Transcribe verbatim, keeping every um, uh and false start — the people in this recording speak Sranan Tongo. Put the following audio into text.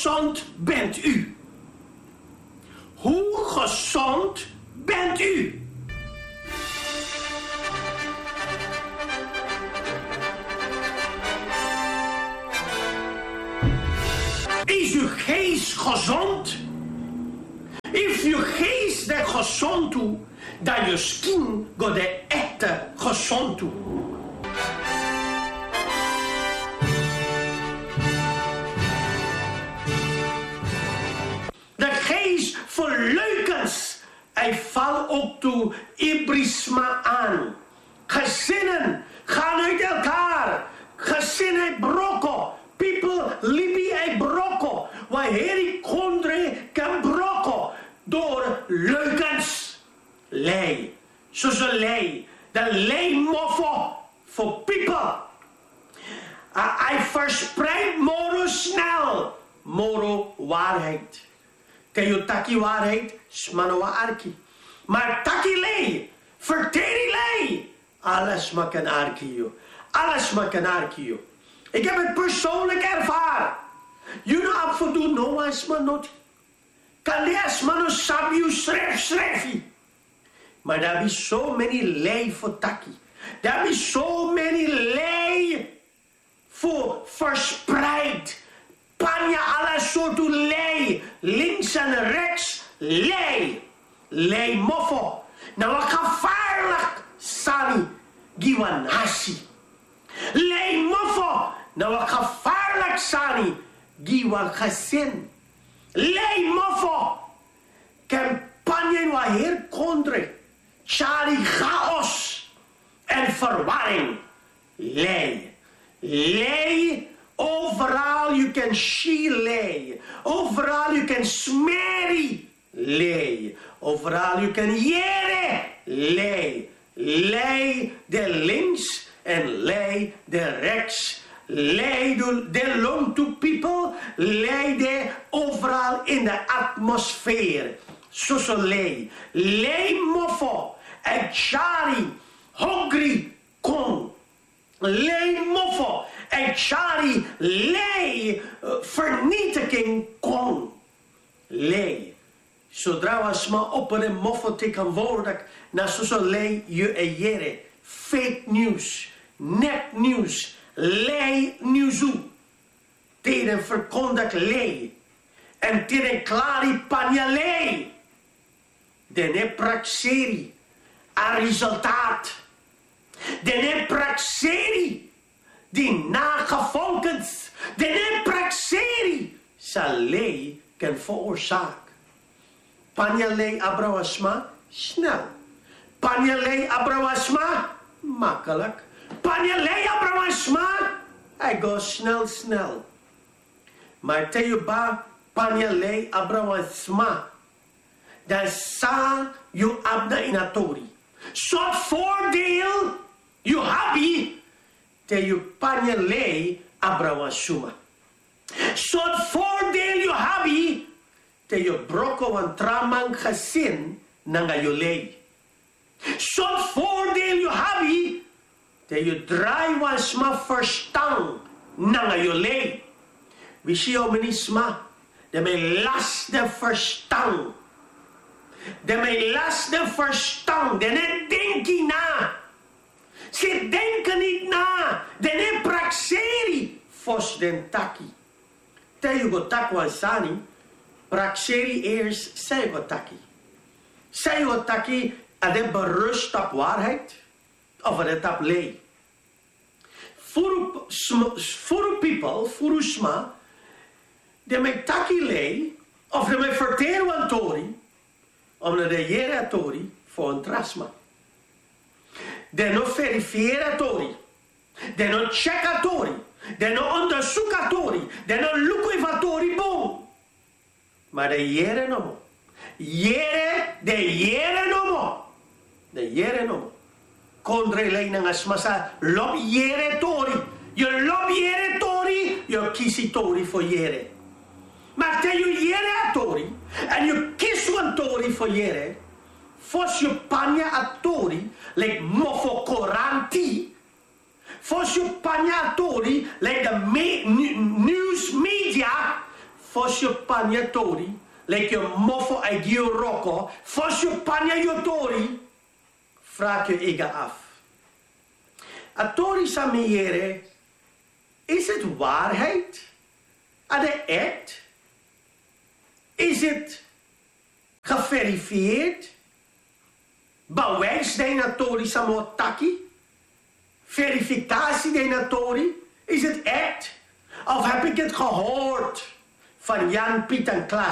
gezond bent u? Hoe gezond bent u? Is uw geest gezond? If your geest is gezond, dan your skin go de ete gezond. De geest van leugens, hij valt ook toe ibrisma aan. Gezinnen gaan uit elkaar. Gezin e broko. People libi e broko. Wan heri kondre kan broko door leugens. Lei. Soso lei. De lei mofo for people. A, hij verspreidt moro snel moro waarheid. Te yu taki waarheid, sma no wani arki. Maar taki lei, verteri lei, ala sma kan arki yu. Ala sma kan arki yu. Ik heb het persoonlijk ervaren. Yu no abi fu du no wan sma noti. Kande a sma no sabi yu srefi srefi. Maar daar is so many lei fu taki. Daar is so many lei fu verspreid. Panya ala sortu lei, links en rechts, lei. Lei mofo na wan gevaarlijk sani gi wan nasi. Lei mofo na wan gevaarlijk sani gi wan gezin. Lei mofo kan panya ini wan heri kondre, tyari chaos en verwarring. Lei. Lei, overal yu kan si lei. Overal yu kan smeri lei. Overal yu kan yere lei. Lei de links en lei de rechts. Lei de, de lontu people. Lei de overal in de atmosfeer. Soso lei. Lei mofo e tyari hongri kon. Lei mofo e tyari lei, eh, vernietiging kon. Lei. Zodra wan sma opo den mofo tegenwoordig, na soso lei yu e yere. Fake news, nepnieuws, lei nieuws. Te den verkondig lei. En te den klari panya lei. Den no e prakseri a resultaat. Den no e prakseri di nagevolgens. Den no e prakseri san lei kan veroorzaak. Panya lei abra wan sma, snel. Panya lei abra wan sma, makkelijk. Panya lei abra wan sma, hij go snel, snel. Maar te yu ba panya lei abra wan sma, dan san yu abi na ini a tori? Sortu voordeel yu abi te yu panya lei abra wan sma? Sortu voordeel yu abi te yu broko wan tra man gezin nanga yu lei? Sortu voordeel yu abi te yu drai wan sma verstan nanga yu lei? Wi si how many sma, den ben lasi den verstan. Den ben lasi den verstan, den no e denki na. Ze denken niet na. Den no e prakseri fosi den taki. Te yu go taki wan sani, prakseri eerst san yu go taki. San yu go taki, a de berust op waarheid of a de tapu lei? Furu sm-, furu people, furu sma, den ben taki lei of den ben ferteri wan tori, omdat den yere a tori fu wan tra sma. Den no verifieri a tori. Den no tyeki a tori. Den no ondersuku a tori. Den no luku efu a tori bun. Maar den yere nomo. Yere, den yere nomo. Den yere nomo. Kondre lei nanga sma sa lobi yere tori. Yu lobi yere tori, yu kisi tori fu yere. Maar te yu yere a tori, en yu kisi wan tori fu yere, fosi yu panya a tori, like mofo koranti, fosi yu panya a tori, like de me-, nu-, news media, Fosi yu panya tori, leki yu mofo a gi yu roko, fosi yu panya yu tori, fraki yu ega af. A tori san mi yere, is it waarheid? A de echt? Is it geverifieerd? Bewijs dina tori san mi o taki? Verifikasi dina tori? Is it echt? Of heb ik het gehoord van jan piet en klas?